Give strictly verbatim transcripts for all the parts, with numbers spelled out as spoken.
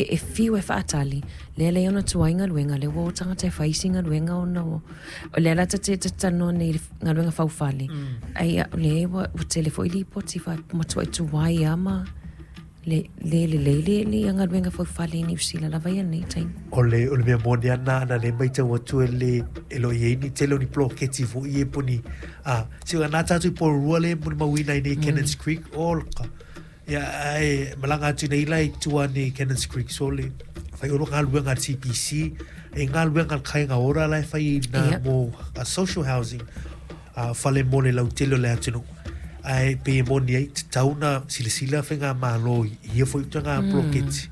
E fiu e faatali, lea lea ona tuai galuega, lea ua o tagata e fai isi galuega ona o o lea la ta te talanoa nei i le galuega faufale. Ai o lea ua ua tele foi lipoti fa matuai tuai lava ma le le lelei le le galuega faufale i Niu Sila lava ia lenei taimi. O le, o le mea moni lava lena, ana lea matau atu e le, e le o i ai ni tele o ni poloketi foi ia po o ni, a, se na tatou i Porirua lea e molimauina ai nei i Cannons Creek, o ka, ia, ae malaga atu nei la i tua ane i Cannons Creek, so le fai o galuega a le C P C, e galuega a le Kāinga Ora la e fai i nā Ia. mo a social housing, a fale mo le lautele o le atunuu. Ae pe e moni ai, tatau na silasila whainga malo i ia foi tanga Mm. poloketi.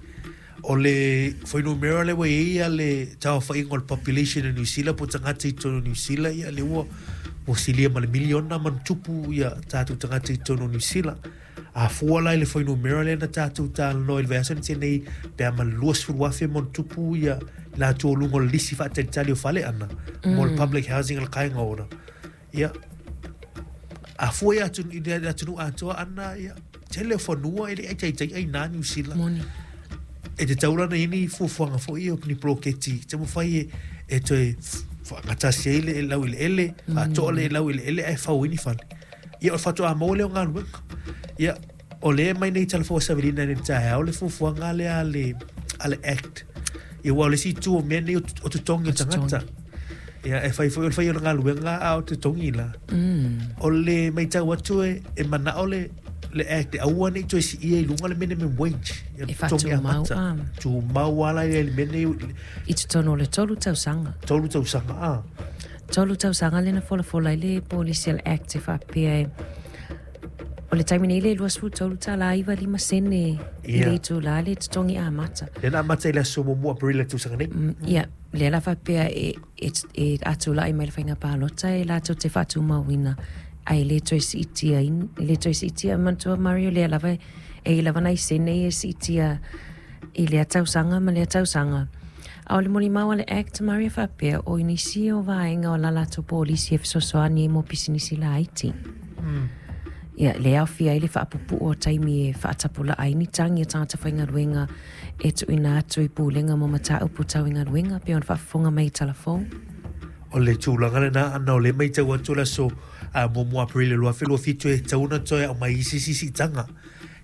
O le fuainumera le ua i ai a le tauawhaiga o le population o New Zealand, po tagata i totonu o New Zealand, ia le ua ua silia ma le miliona ma tupu ia tātou tagata i totonu o New Zealand. A fua la i le fuainumera lea na tātou talanoa i le vaiaso na tea nei, pe a ma le luasefulu afe ma ona tupu ia latou o luga o le lisi faatalitali o fale ana, mo le Mm. public housing a le kāinga ora. Ia, a fua ia atu, i le atunuu atoa ana, ia, tele o fanua e le ai taitai ai nā New Zealand. Moni. E te taurana i ni fuafuaga foi o ni poloketi, te mawhai e, e toe whaangatasi ai le e lau i le ele, Mm. whaatoa le e lau i le ele, ai fau i ni fale. Ia, o le whatoa maua lea o galuega. Ia, o le mai nei talafoa savilina nei taeao le fuafuaga lea a le, a le Act. Ia, ua o le isi itu o mea nei o t-, o totogi o O totogi. tagata. Ia, e whai foi o le whai o le galuega a o totogi la. Mm. O le maitau atu e, e manao le, le Act, e aua nei toe siia i lunga le minimum wage. Ia, E totogi whātumau, amata. ah. Tumau ala i le mene i- I totonu o le tolu tausaga. Tolu tausaga, ah. Tolu tausaga lena folafola i le polisi a le Act e faapea e o le taimi nei le luasefulu tolu tālā iva lima sene i Ia. le itulā le totogi amata. Lena amata i le aso muamua Aperila tausaga nei. Mm, ia, lea la faapea e, e, e atulai mai le faiga palota e latou te faatumauina ai le toe siitia in, le toe siitia manatua Mario lea lava e i lava nai sene e siitia i lea tausaga ma lea tausaga. A o le molimau a le Act Mario faapea o nisi o vaega o la latou polisi e fesoasoani ai mo pisinisi laiti. Mm. Ia, le aofia ai le faapupuu o taimi e faatapulaa ai ni tagi a tagata faigaluega e tuuina atu i pulega mo mataupu tau i galuega pe ona faafofoga mai i talafou. O le tulaga lena ana o le maitau atu le aso, a, muamua Aperila lua afe lua fitu e tatau ona toe aumai isi sisiitaga.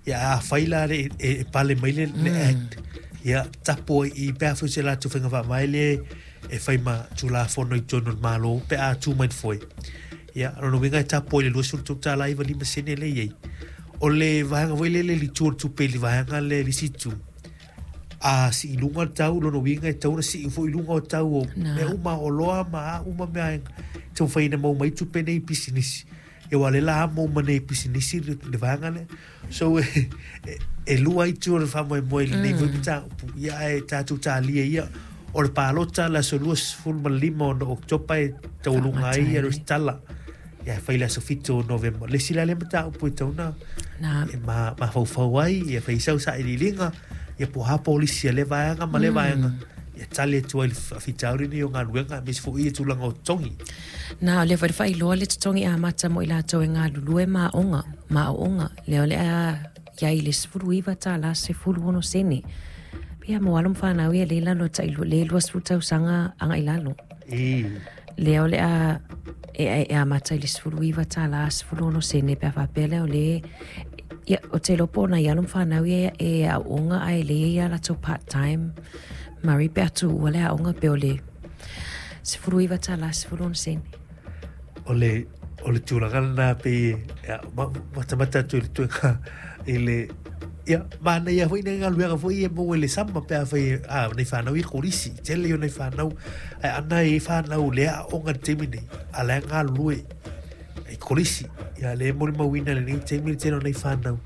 Ia, a fai la le, e, e pale mai le, le Mm. Act. Ia, tapo ai i pe a foi se latou faiga faavae le e fai ma tulafono i totonu o le Malo pe a tu mai le foe. Ia, lona uiga e tapo ai le luasefulu tolu tālā iva lima sene le i ai. O le vaega foi lele le itu o le tupe i le vaega le le isi itu. A sii luga le tau, lona uiga e tatau ona sii foi i luga o tau o Nā. mea uma o loa ma a uma mea e taumafai ina maua mai tupe nei i pisinisi. Ia, ua le la maua mai nei i pisinisi le, le vaega lea. So, e, e, e lua itu o le faamoemoe i lenei foi Mm. mataupu. Ia, ae tatou talia ia, o le palota le aso luasefulu ma le lima ona Oketopa e taualuga ai ia Faamatale. resitala. Ia, e fai le aso fitu o Novema. Le isi la lea mataupu e tatau ona Nā. e ma-, mafaufau ai, ia fai sau sailiiliga, ia po o a polisi a le vaega ma le Mm. vaega. Ia tali atu ai le faafitauli nei o galuega, aemaise foi ia tulaga o totogi. Nā, o lea foi le faailoa le totogi amata mo i latou e galulue ma aoga, ma aoga. Lea o le a iai le sefulu iva tālā sefulu ono sene. Pia mo alo ma whanau ia le lalo tai lu-, le luasefulu tausaga aga i lalo. E. Lea o le a e, e, e amata i le sefulu iva tālā sefulu ono sene pe a faapea lea o le ia, o te lopo o nai alo ma whanau ia e aoga ai le ia latou part time. Mari pe atu ua le aoga pe o le sefulu iva tālā sefulu ono sene. O le, o le tulaga lena pe, ia, ma-, matamata atu i le tuega, i le, ia, manaia foi nai galuega foi e maua i le sama pe a fai, a, nei whanau i kolisi, tele o nei whanau, ai ana e whanau le aoga le taimi nei, a le galulue i kolisi, ia, le molimauina lenei taimi le tele o nei whanau,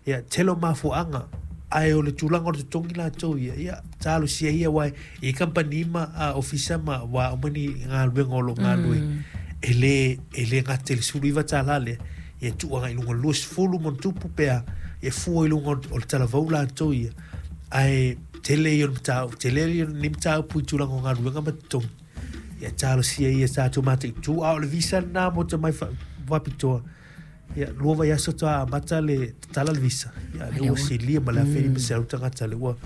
ia, tele o mafuaaga, ae o le tulaga o le totogi latou ia, ia, talosia ia uae, i kampani ma, a, ofisa ma, ua uma ni galuega o loo galue. Mm. E le, e le gate le sefulu iva tālā lea, ia tuu agai i luga luasefulu ma ona tupu pe a, ia fua i luga o le talavou latou ia. Ae tele ia o le mataupu, tele ia o lenei mataupu i tulaga o galuega ma totogi. Ia talosia ia tatou mataitu, a o le visa lenā mo te mai fa-, faapitoa. Ia, lua vaiaso toa amata le tatala le visa. Ia, le Ai, ua ua. silia ma le afe lima Mm. selau tagata le ua